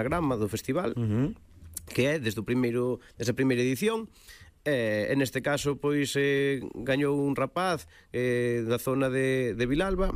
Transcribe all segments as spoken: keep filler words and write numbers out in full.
grama do festival, Uh-huh. que é desde o primeiro, desde a primeira edición. Eh, en este caso, pois, eh, gañou un rapaz eh, da zona de, de Vilalba,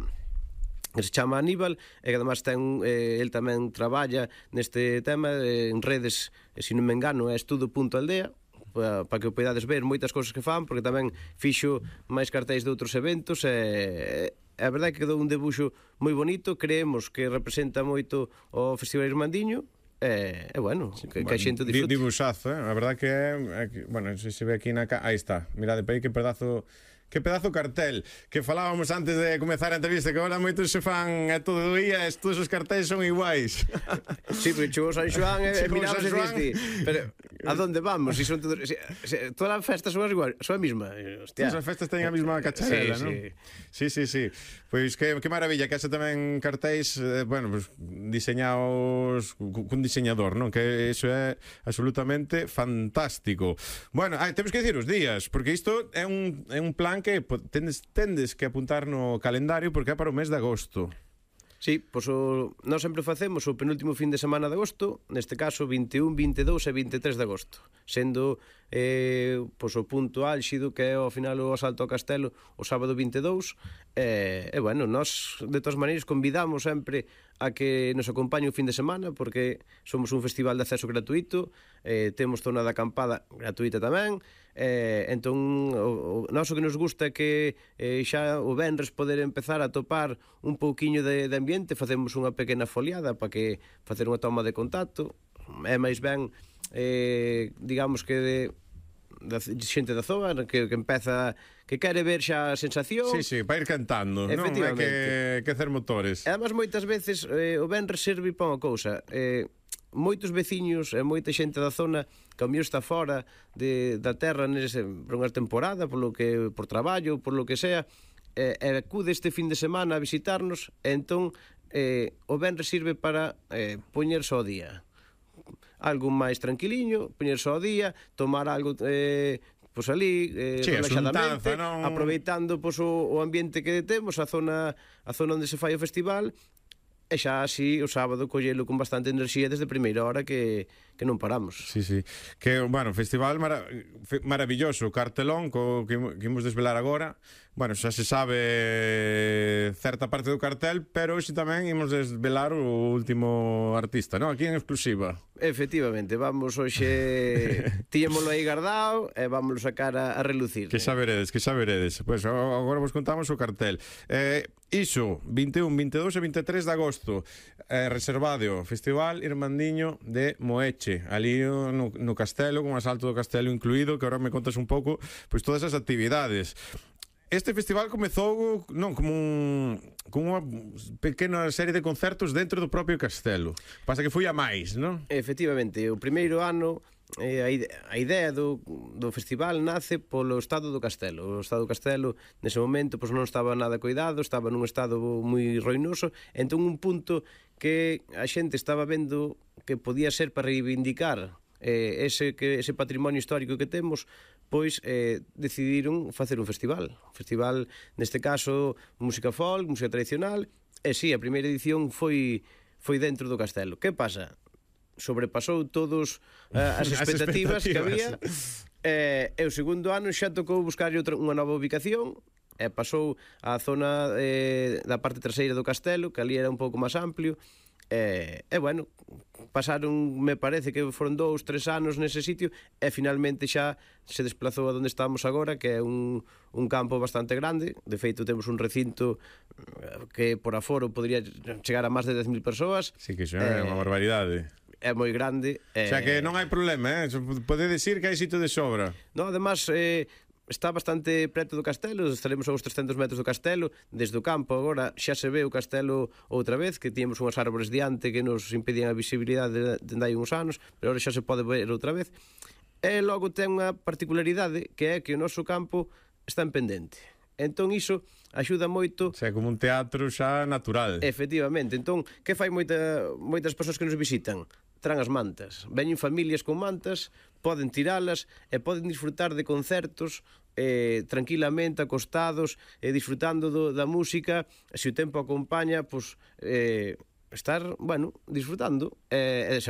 que se chama Aníbal, e que además ten, eh, el tamén traballa neste tema eh, en redes, eh, se non me engano, é estudo punto aldea, para pa que o podades ver moitas cousas que fan, porque tamén fixo máis cartéis de outros eventos, e a verdade é que quedou un debuxo moi bonito, creemos que representa moito o Festival Irmandiño, e, e bueno, que, que a xente disfrute. Dibuixazo, eh? A verdad que é, é que, bueno, se se ve aquí na ca... Aí está, mirade para aí que pedazo que pedazo cartel que falábamos antes de comezar a entrevista, que agora moitos se fan a todo o día, todos os cartéis son iguais. Sí, pero chegou San Xoán e miramos e Xoán... diste, pero a donde vamos? Si son todos, si, si, todas as festas son as igual, son a mesma. Hostia. Todas as festas teñen a mesma cacharela, sí, non? Sí, sí, sí, sí. Pois que, que maravilla, que hace tamén cartéis, eh, bueno, pues, diseñados cun diseñador, non? Que iso é absolutamente fantástico. Bueno, ah, temos que dicir os días, porque isto é un, é un plan que tendes, tendes que apuntar no calendario porque é para o mes de agosto. Sí, pois o, nós sempre facemos o penúltimo fin de semana de agosto, neste caso vinte e un, vinte e dous e vinte e tres de agosto, sendo eh, pois o punto álxido que é ao final o asalto ao castelo o sábado vinte e dous, e, e bueno, nós de todas maneiras convidamos sempre a que nos acompañe o fin de semana, porque somos un festival de acceso gratuito, eh, temos zona de acampada gratuita tamén, eh, entón o, o noso que nos gusta é que eh, xa o venres poder empezar a topar un pouquiño de, de ambiente, facemos unha pequena foliada para que facer unha toma de contacto, é máis ben eh, digamos que de da xente da zona que, que empeza que quere ver xa a sensación. Sí, sí, para ir cantando, non é que, que hacer motores. E además moitas veces eh, o venres serve para unha cousa, eh, moitos veciños e moita xente da zona que ao mellor está fora de, da terra nese, por unha temporada, por lo que, por traballo, por lo que sea, e eh, acude este fin de semana a visitarnos, e entón eh, o venres sirve para eh, poñerse ao día, algo máis tranquiliño, poñerse ao día, tomar algo eh, pois ali eh, sí, relaxadamente, non... aproveitando pois, o, o ambiente que temos, a zona a zona onde se fai o festival, e xa así o sábado collelo con bastante enerxía desde a primeira hora que, que non paramos. Sí, sí. Que, bueno, festival mara maravilloso, cartelón co, que, que imos desvelar agora. Bueno, xa se sabe certa parte do cartel, pero hoxe tamén imos desvelar o último artista, non? Aquí en exclusiva. Efectivamente, vamos hoxe tiñémolo aí guardado e vámoslo sacar a, a relucir. Que xa veredes, que xa veredes. Pois pues, agora vos contamos o cartel. Eh, iso, vinte e un, vinte e dous e vinte e tres de agosto, eh, reservado Festival Irmandiño de Moeche, ali no, no castelo, con asalto do castelo incluído, que agora me contas un pouco pois todas as actividades. Este festival comezou non como un, como unha pequena serie de concertos dentro do propio castelo. Pasa que foi a máis, non? Efectivamente, o primeiro ano eh, a, ide a idea do, do festival nace polo estado do castelo. O estado do castelo nese momento pois, non estaba nada cuidado, estaba nun estado moi ruinoso, entón un punto que a xente estaba vendo que podía ser para reivindicar eh, ese, que, ese patrimonio histórico que temos, pois eh, decidiron facer un festival. Un festival, neste caso, música folk, música tradicional, e si, sí, a primeira edición foi, foi dentro do castelo. Que pasa? Sobrepasou todos uh, as, expectativas as expectativas que había, e, e o segundo ano xa tocou buscar outra, unha nova ubicación, e pasou á zona eh, da parte traseira do castelo, que ali era un pouco máis amplio, e, e bueno, pasaron, me parece que foron dous, tres anos nese sitio, e finalmente xa se desplazou a onde estamos agora, que é un, un campo bastante grande. De feito temos un recinto que por aforo podría chegar a máis de dez mil persoas. Sí, que xa é unha barbaridade. É moi grande. O sea que non hai problema, eh? Pode decir que hai sitio de sobra. No, además, eh, está bastante preto do castelo, estaremos a uns trescentos metros do castelo, desde o campo agora xa se ve o castelo outra vez, que tínhamos unhas árbores diante que nos impedían a visibilidade dende hai uns anos, pero agora xa se pode ver outra vez. E logo ten unha particularidade, que é que o noso campo está en pendente. Entón iso axuda moito. O sea, como un teatro xa natural. Efectivamente, entón, que fai moita, moitas persoas que nos visitan? Tran as mantas, veñen familias con mantas, poden tiralas e poden disfrutar de concertos eh, tranquilamente, acostados, eh, disfrutando do, da música, se o tempo acompaña, pois, eh, estar, bueno, disfrutando, eh,